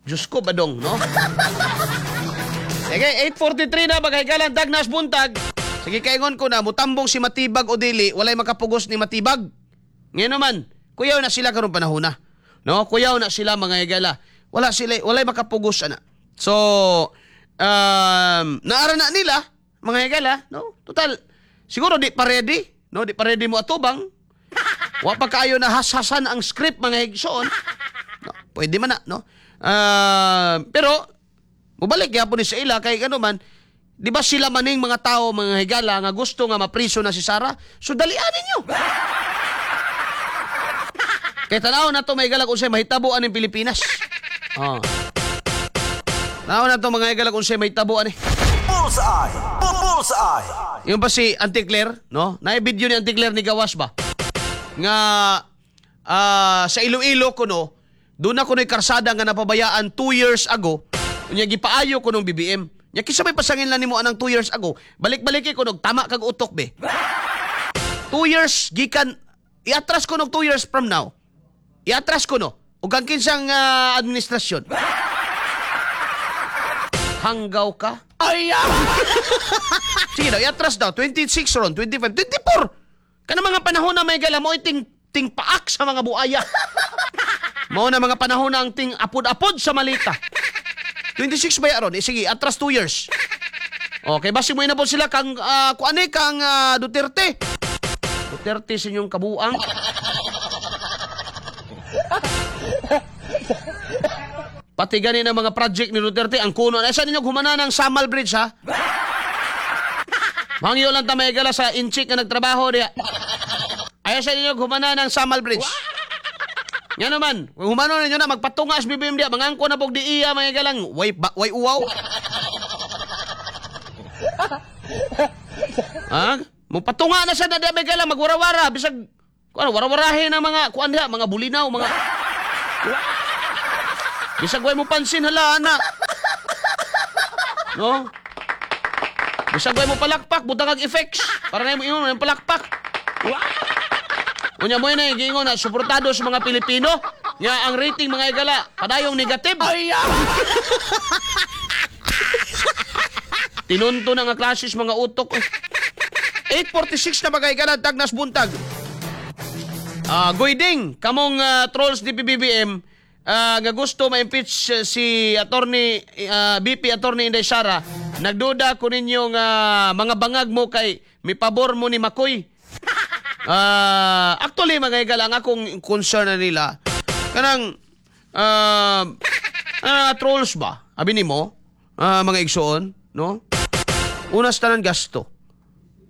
Diyos ko, badong, no? Sige, 8:43 na, bagay dagnas buntag. Sige, kaingon ko na, mutambong si Matibag o dili, walay makapugos ni Matibag. Ngayon naman, kuyaw na sila karong panahon na. No, kuyaw na sila, mga higala. Wala sila, walay makapugos ana. So, naara na nila, mga higala, no? Total, siguro di pa ready, no? Di pa ready mo atubang. Wa pa kaayo na hashasan ang script, mga higsoon. No, pwede man na, no? Pero mubalik gyapon ni sa ila kay ano man, di ba sila maning mga tao, mga higala, nga gusto nga mapriso na si Sara? So dalian ninyo. Kay tanaw na to, mga higala, kung unsay mahitabo aning Pilipinas. Oh. Tanaw na to, mga higala, kung unsay mahitabo ani. Bullseye! Bullseye! Yung pa si Auntie Claire, no? Na video ni Auntie Claire ni gawas ba? Nga sa Iloilo ko, no, doon ako no'y karsada nga napabayaan 2 years ago. Unya gipaayo ko nung BBM. Nya kinsa may pasangin lang nimo anang 2 years ago. Balik-balik ko nog tama kag utok be. 2 years gikan iatras ko nog 2 years from now. Iatras ko no. Ug ang kinsang administrasyon. Hanggaw ka? Ay! Sige daw, iatras daw. 26 ron, 25, 24. Kana mga panahon na may gala mo ting ting paak sa mga buaya. Mao na mga panahon na ang ting apod-apod sa malita. 26 ba ron? Eh, sige, atras 2 years. Okay, basi mo na po sila kang kuan kang Duterte. Duterte sa inyong kabuang. Pati gani ng mga project ni Duterte, ang kuno. Asa ninyo humana ng Samal Bridge, ha? Mangyo lang ta may gala sa inchik nga nagtrabaho diya. Ayaw sa ninyo humana ng Samal Bridge. Nga naman, kung humano ninyo na, magpatunga sa BBM diya, mangangko na pog di iya, mga galang, way, ba, way uwaw. Ha? Mupatunga na siya na diya, mga galang, magwarawara, bisag, kuan, warawarahin ang mga, kuan diya, mga bulinaw, mga, bisag way mo pansin, hala, ana. No? Bisag way mo palakpak, butang kag effects. Para na mo ingon, yung palakpak. Unya mo yun giingon na suportado sa mga Pilipino. Nga ang rating mga igala, padayong negative. Ay, tinunto na nga klasis mga utok. 8:46 na mga igala, tagnas buntag. Goyding, kamong trolls di PBBM, nga gusto ma-impeach si attorney, BP Attorney Inday Sara, nagduda ko ninyo nga mga bangag mo kay mi pabor mo ni Makoy. Actually mga igala, ang akong concern na nila kanang trolls ba? Abi nimo, mga igsoon, no? Una sa tanan gasto.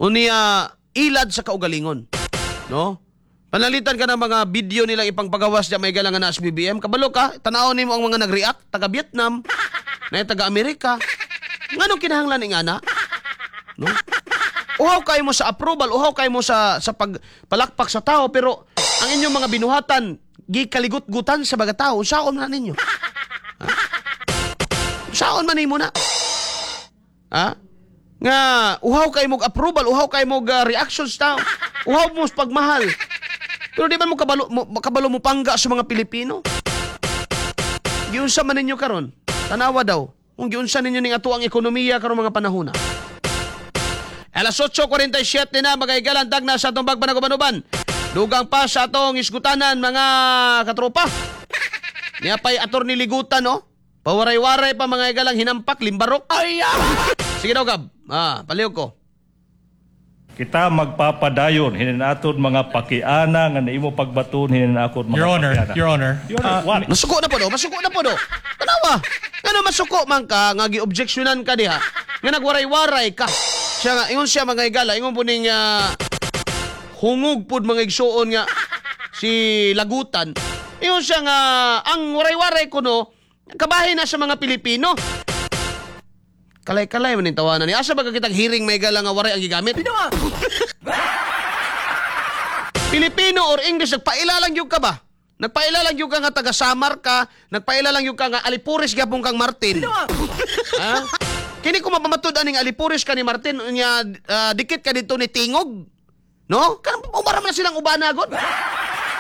Unya ilad sa kaugalingon, no? Panalitan ka ng mga video nilang ipangpagawas diya may igala nga na sa BBM. Kabalo ka, tan-awon nimo ang mga nag-react, taga Vietnam, na taga Amerika. Nganong kinahanglan ing ana? No? Uhaw kayo mo sa approval, uhaw kayo mo sa pagpalakpak sa tao, pero ang inyong mga binuhatan gikaligut-gutan sa mga tao. Saon man ninyo? Ha? Saon man nimo na? Ha? Nga uhaw kayo mo approval, uhaw kayo mo reactions tao, uhaw mo sa pagmahal. Pero di ba mo kabalo mo pangga sa mga Pilipino? Giunsa man ninyo karon? Tanawa daw. Kung giunsa ninyo ning ato ang ekonomiya karon mga panahona. Alas 8:47 na mga igalan, dagna sa atong bagpanagubanuban. Dugang pa sa atong isgutanan mga katropa. Niya pa'y Attorney Ligutan, no? Pawaray-waray pa mga igalang hinampak, limbarok. Ay! Sige daw, Gab. Palihog ko. Kita magpapadayon hininaton mga pakiana nga naimo pagbaton hinanakot mga Your Honor, pakiana. Your Honor. Your Honor, what? Masuko na po do, masuko na po do. Tanawa. Ngano masuko man ka nga gi-objectionan ka diha? Nga nagwaray-waray ka. Siya nga ingon siya mga igala, ingon po ning hungog pud mga igsuon nga si Lagutan. Ingon siya nga ang waray-waray kuno kabahin na sa mga Pilipino. Kalay-kalay man ning tawanan ni. Asa ba ka kitang hearing may igala nga waray ang gigamit? Pilipino or English, nagpaila lang yung ka ba? Nagpaila lang yung ka nga taga Samar ka, nagpaila lang yung ka nga Alipures gyapon kang Martin. Ha? Kini ko mapamatud aning Alipures ka ni Martin nya dikit ka dito ni Tingog. No? Kanang umara man silang ubana gud.